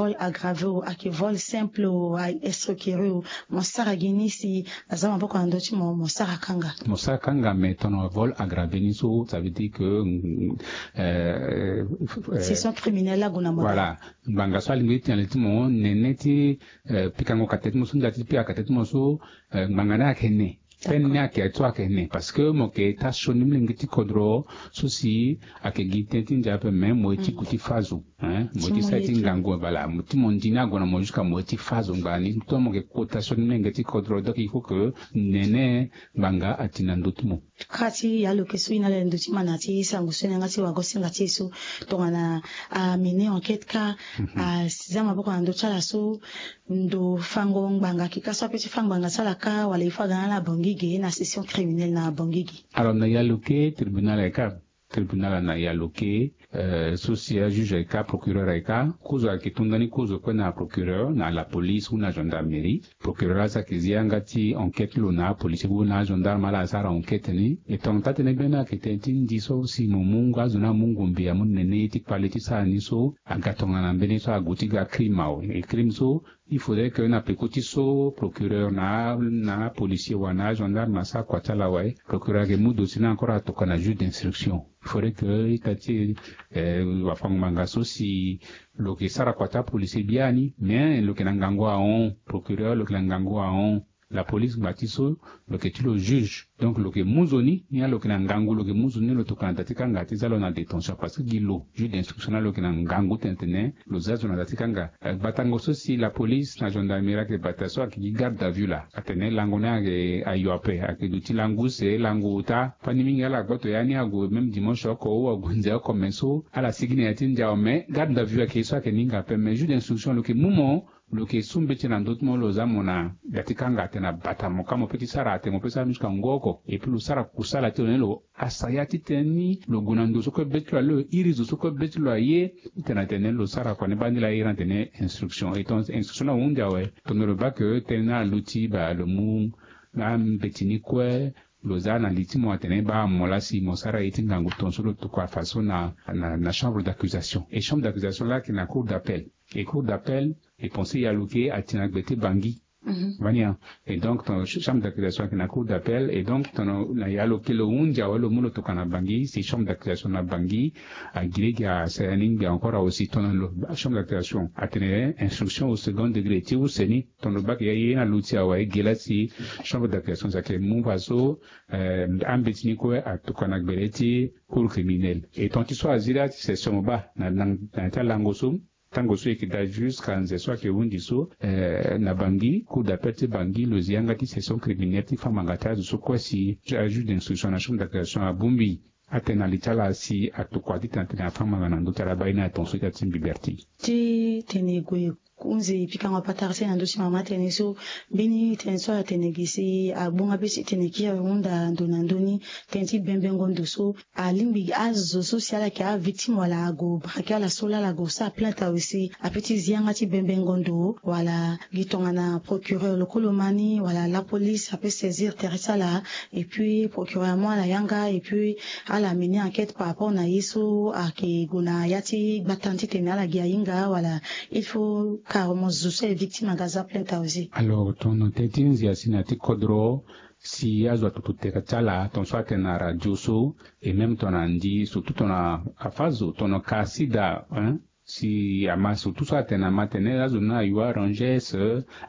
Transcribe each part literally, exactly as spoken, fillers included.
Vol aggravé o, ayeke vol simple o, ayeke escroquerie o, mo sara gi ni si aza maboko na ndö ti mo, mo sara kanga? Mo sara kanga, mais tongana vol aggravé ni so, ça veut dire que, euh, euh, session criminelle ague na mo. Voilà. Ngbanga so alingbi ti tene na li ti mo nene ti, euh, pikango kate ti mo so, ndia ti pika kate ti mo so, euh, ngbanga ni ayeke ne. Peine ni ayeke so ayeke ne, parce que mo yeke taa sioni molenge ti kodro so si ayeke gi tënë ti ndia ape, mais mo ye ti ku ti fâ zo, hein, mo ye ti sara ti ngangu, voilà, mo ti mo ndi ni ague na mo jusqu'à mo ye ti fâ zo ngbanga ni. Donc mo yeke kota sioni molenge ti kodro, donc il faut que nene ngbanga ati na ndö ti mo. Kâ ti ya lo yeke so e na ala ndö ti ma na ya ti sango so e na yanga ti wagosinga ti e so, tongana amené enquête kâ, aza maboko na ndö ti ala so, ndo fango ngbanga ayeke kâ so ape ti fâ ngbanga ti ala kâ, wala il faut aga na ala Bangui ge, na session criminelle na Bangui ge? Alors na ya lo ke tribunal ayeke kâ, tribunal na ya lo ke, euh, so si ajuge ayeke kâ, procureur ayeke kâ, kozo ayeke to ndani kozo kue na procureur, na la police ou na gendarmerie. Procureur aza ayeke zi yanga ti enquête ti lo na apolicier ou na agendarme, ala asara enquête ni. E tongana taa tënë gbeni ayeke tënë ti ndi so si mo mu azo ni amu ngombe amu nene ye ti kpale ti sara ni so, aga tongana mbeni so ague ti ga crime awe. E crime so, il faudrait que na peko ti so procureur na, na policier wala na gendarme asara kua ti ala awe, procureur ayeke mu dossier ni encore atokua na juge d'instruction. Il faudrait que ita ti, eh, wafango-ngbanga so si lo yeke sara kua ti apolicier biani, mais lo yeke na ngangu ahon, procureur lo yeke na ngangu ahon. La police ngba ti so, lo yeke ti lo juge. Donc lo yeke mu zo ni, ni lo yeke na ngangu, lo yeke mu zo ni, lo tokua na da ti kanga ti za lo na détention, parce que gi lo juge d'instruction na lo yeke na ngangu tene tene lo za zo na da ti kanga. Eh, gbatango so si la police na gendarmerie ayeke bata so ayeke gi garde à vue laa, atene lango ni ayeke ayo ape, ayeke duti lango use, lango ota. Fani mingi ala gboto ya ni ague même dimanche oko ou ague nze oko, mais so ala sigi na ya ti ndia awe, mais garde à vue ayeke so ayeke ni hinga ape, mais juge d'instruction lo yeke mu mo, lo yeke su mbeti na ndö ti mo, lo za mo na da ti kanga atene abata mo, ka mo pe ti sara atene mo pe sara ni jusqu'à ngu oko. Et puis lo sara kusala ti lo ni, lo asa ya ti tënë ni, lo gue na ndo so kue be ti lo aye, lo iri zo so kue be ti lo aye, ti tene atene lo sara kua ni baa ni laa, iri atene instruction. Et donc instruction ni ahunzi awe, tongana lo baa ke tënë ni aluti, baa lo mu ambeti ni kue, lo za na li ti mo atene baa mo laa si mo sara ye ti ngangu tongaso, lo tokua fadeso na, na, na chambre d'accusation. Et chambre d'accusation laa ayeke na cour d'appel. Et cour d'appel, e pensé ya lo ke ati na gbe ti Bangui. Mhm. Vania. Et donc tongana ch-, chambre d'accusation ayeke na cour d'appel, et donc tongana na ya lo ke lo hunzi awe, lo mu lo tokua na Bangui, si chambre d'accusation na Bangui agi lege asara ni ngbia encore awe, si tongana lo, chambre d'accusation atene instruction au second degré ti use ni, tongana lo baa ke ya ye ni aluti awe, ge laa si chambre d'accusation si ayeke mu fadeso, eh, ambeti ni kue atokua na gbele ti cour criminelle. Et tongana ti so azi laa ti session mo baa na, na, na ya ti alango so, tango so e yeke daa jusqu'à nze so ayeke hunzi so, eh, na Bangui, cour d'appel ti Bangui lo zi yanga ti session criminelle ti fâ ngbanga ti azo so kue si ajuge d'instruction na chambre d'accusation abongbi atene na li ti ala si atokua ti tene atene afâ ngbanga na ndö ti ala. Baa ye ni atongaso ita ti mbi Berti. Ti tene gue hunzi pikango patara ti e na ndö ti mama tënë so, mbeni tënë so atene gi si agbonga be ti tene kiri hunda ndo na ndö ni, tënë ti bembengo ndo so, alingbi azo so si ala yeke avictime wala ague braquer ala so laa ala gue sara plainte awe si apeut ti zi yanga ti bembengo ndo, wala gi tongana procureur lo kue lo ma ni wala la police apeut saisir tere ti ala, et puis procureur amu ala yanga, et puis ala mené enquête par rapport na ye so ayeke gue na ya ti gbata ni ti tene ala gi ahinga, wala il faut carrément zo so aye victime aga za plainte awe aussi? Alors tongana tënë ti nzia si na ya ti kodro, si azo atutu tere ti ala, tongana so atene na radio so, et même tongana ndi, surtout tongana afâ zo, tongana ka sida, hein, si ama, surtout so atene ama tene azo ni ayo arranger,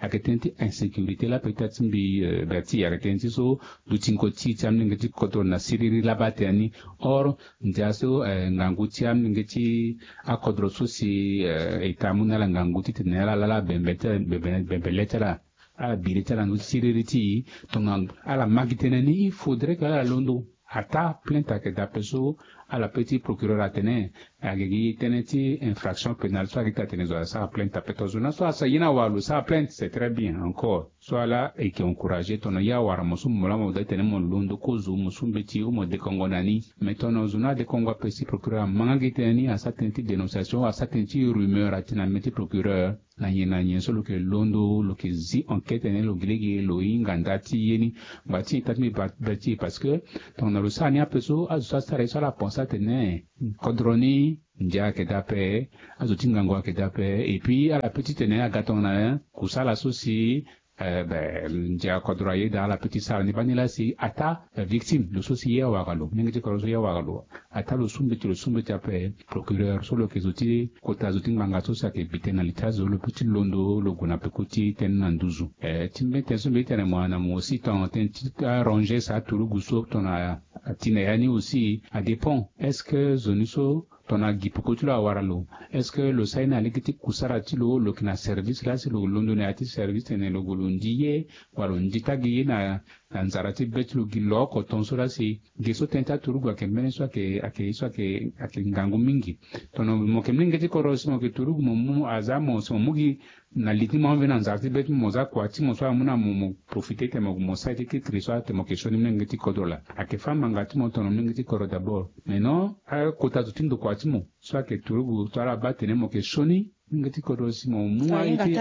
ayeke tënë ti insécurité laa, peut-être ti mbi, euh, Berti, ayeke tënë ti so dutingo ti, ti amolenge ti kodro na siriri laa baa tënë ni. Or ndia so, eh, ngangu ti amolenge ti akodro so si, eh, État amu na ala ngangu ti tene ala laa ala bembe ti, bembe, bembe le ti ala, ala bi le ti ala na ndö ti siriri ti e. Tongana ala ma gi tënë ni, il faudrait que ala londo. Ataa plainte ayeke daa ape so, ala peut ti procureur atene ayeke gi tënë ti infraction pénale so ayeke ti atene zo asara plainte ape. Tongana zo na so asara ye ni awara lo sara plainte, c'est très bien encore. So ala e yeke encourager, tongana ye awara mo so mo laa mo daa tene mo londo kozo mo su mbeti ou mo dekongo na ni. Mais tongana zo ni adekongo ape si procureur ama nga gi tënë ni, asara tënë ti dénonciation, asara tënë ti rumeur atene na mê ti procureur, na nyen na nyen so lo yeke londo, lo yeke zi enquête ni, lo gi lege lo hinga nda ti ye ni. Ngbanga ti ita ti mbi Berti, parce que tongana lo sara ni ape so, azo so asara ye so ala pense atene kodro ni Ndia ayeke daa ape. Azo ti ngangu ayeke daa ape. Et puis ala pe titene aga tongana kusala so si eh ben ndia kodro ayeda ala pe ti sara ni bani laa si ataa victime lo so si ye awara lo, mingi ti kodro so ye awara lo. Ataa lo su mbeti lo su mbeti ape. Procureur so lo yeke zo ti kota zo ti ngbanga so si ayeke bi tënë na li ti azo lo pe ti londo lo gue na peko ti tënë na nduzu. Eh ti mbeni tënë so mbi ye ti tene mo na mo aussi tongana tënë ti arranger sa aturugu so tongana ati na ya ni aussi adépend est-ce que zo ni so tongana gi peko ti lo awara lo, est-ce que lo sara ye na lege ti kusara ti lo lo yeke na service laa si lo londo na ya ti service tene lo gue lo ndi ye wala lo ndi ta gi ye na na nzara ti be ti lo gi lo oko tongaso laa si ge so tënë ti aturugu ayeke mbeni so ayeke ayeke ye so ayeke ayeke ngangu mingi. Tongana mo yeke molenge ti kodro si mo yeke turugu mo mu aza mo si mo mu gi na li ti mo ave na nzara ti be ti mo mo za kua ti mo so amu na mo mo profite tene mo mo sara ye ti kiri so atene mo yeke sioni molenge ti kodro laa ayeke fâ ngbanga ti mo tongana molenge ti kodro d'abord. Mais non akota zo ti ndokua ti mo so ayeke turugu so ala baa tene mo yeke sioni molenge ti kodro si mo mu aye ti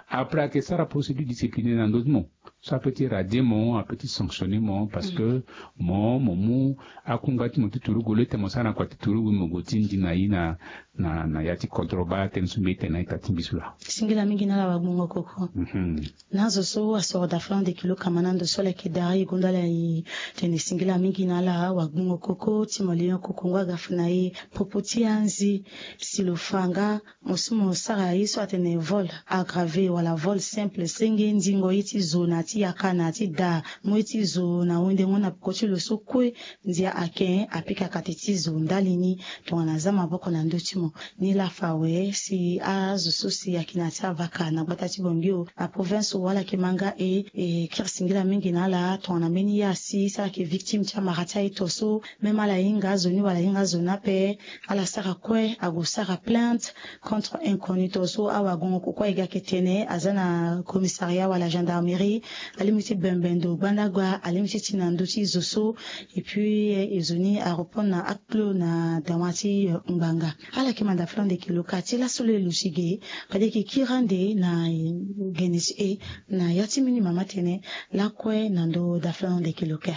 après ayeke sara procédure disciplinaire na ndö ti mo so ape ti radier mo ape ti sanctionner mo parce que mo mo mu akungba ti mo ti turugu lo ete mo sara na kua ti turugu mo gue ti ndi na ye na na na ya ti kodro baa tënë so mbi ye tene na ita ti mbi so laa. Singila mingi na ala wagbongo koko. Na azo so asoro dafalon de kilo kama na ndo so ala yeke dari e gonda ala e tene singila mingi na ala wagbongo koko ti mo lion koko ngu aga fa na e popo ti anzi si lo fa nga mo so mo sara ye so atene vol aggravé wala vol simple senge ndingo ye ti zo na ya ti yaka na ya ti da mo ye ti zo na wendengo na peko ti lo so kue. Ndia ake apika kati ti zo ndali ni tongana aza maboko na ndö ti mo. Ni laa fa awe si azo so si ayeke na ya ti avaka na gbata ti bongio na province so wala ayeke ma nga e e kiri singila mingi na ala tongana mbeni ye asi si ala yeke victime ti amara ti aye to so même ala hinga azo ni wala ahinga azo ni ape. Ala sara kue ague sara plainte contre inconnu to so awagongo koko aye ga ayeke tene aza na commissariat wala gendarmerie. Alingbi ti bembe ndo gbanda gba alingbi ti ti na ndö ti zo so. Et puis e zo ni arépondre na akplo na dawa ti ngbanga. Ala yeke manda flan de kilo ka ti laso lo e luti ge fade yeke kiri ande na gene ti e na ya ti mbeni mama tene lakue na ndo daflan de kilo ka.